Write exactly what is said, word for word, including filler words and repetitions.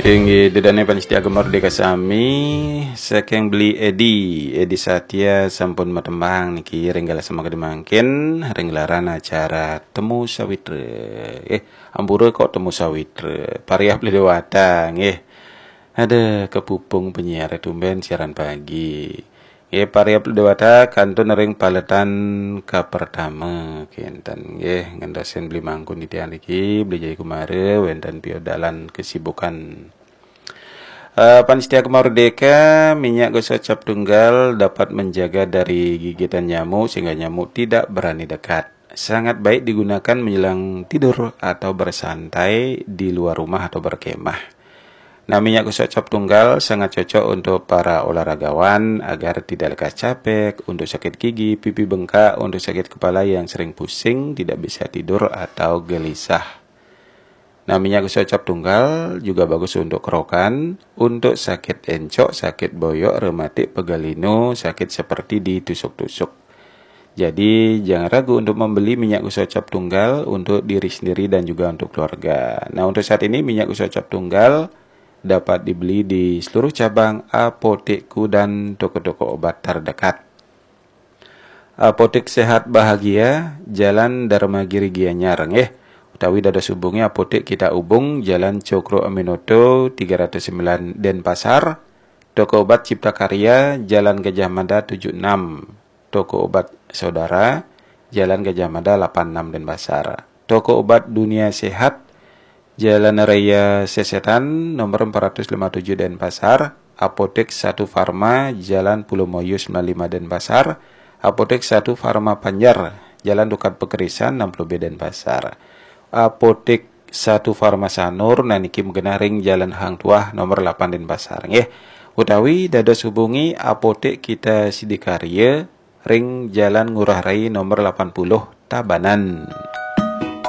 Inggih, ida dané pamiarsa Gema Merdeka sami, saking Beli Edi, Edi Satya sampun matembang niki ring galah semangkin mangkin, ring gelaran acara Temu Sawitra. Eh, ampura kok Temu Sawitra, Pariah Beli Dewata, nggih. Ada kepupung penyiar tumbén siaran pagi. Nggih, Pariah Beli Dewata kantun ring paletan kapertama, kénten nggih, ngentosin Beli Mangku Nitya niki, Beli Jaya Kumara, wénten piodalan kesibukan. Eh, pamiarsa Gema Merdeka, minyak gosok cap tunggal dapat menjaga dari gigitan nyamuk sehingga nyamuk tidak berani dekat. Sangat baik digunakan menjelang tidur atau bersantai di luar rumah atau berkemah. Nah, minyak gosok cap tunggal sangat cocok untuk para olahragawan agar tidak lekas capek, untuk sakit gigi, pipi bengkak, untuk sakit kepala yang sering pusing, tidak bisa tidur atau gelisah. Nah, minyak gosok cap tunggal juga bagus untuk kerokan, untuk sakit encok, sakit boyok, rematik, pegal linu, sakit seperti ditusuk-tusuk. Jadi, jangan ragu untuk membeli minyak gosok cap tunggal untuk diri sendiri dan juga untuk keluarga. Nah, untuk saat ini minyak gosok cap tunggal dapat dibeli di seluruh cabang apotekku dan toko-toko obat terdekat. Apotek Sehat Bahagia, Jalan Dharma Giri Gianyar, nggih. Utawi dados hubungi Apotek Kita Ubung, Jalan Cokro Aminoto tiga ratus sembilan Denpasar, Toko Obat Cipta Karya, Jalan Gajah Mada tujuh enam, Toko Obat Saudara, Jalan Gajah Mada delapan enam Denpasar. Toko Obat Dunia Sehat, Jalan Raya Sesetan, nomor empat ratus lima tujuh Denpasar, Apotek Satu Farma, Jalan Pulau Moyo sembilan lima Denpasar, Apotek Satu Farma Panjar, Jalan Dukat Pekerisan enam puluh B Denpasar. Apotek Satu Farma Sanur, nah niki magenah ring Jalan Hang Tuah nomor delapan Denpasar, nggih. Utawi dados hubungi Apotek Kita Sidakarya ring Jalan Ngurah Rai nomor delapan puluh Tabanan.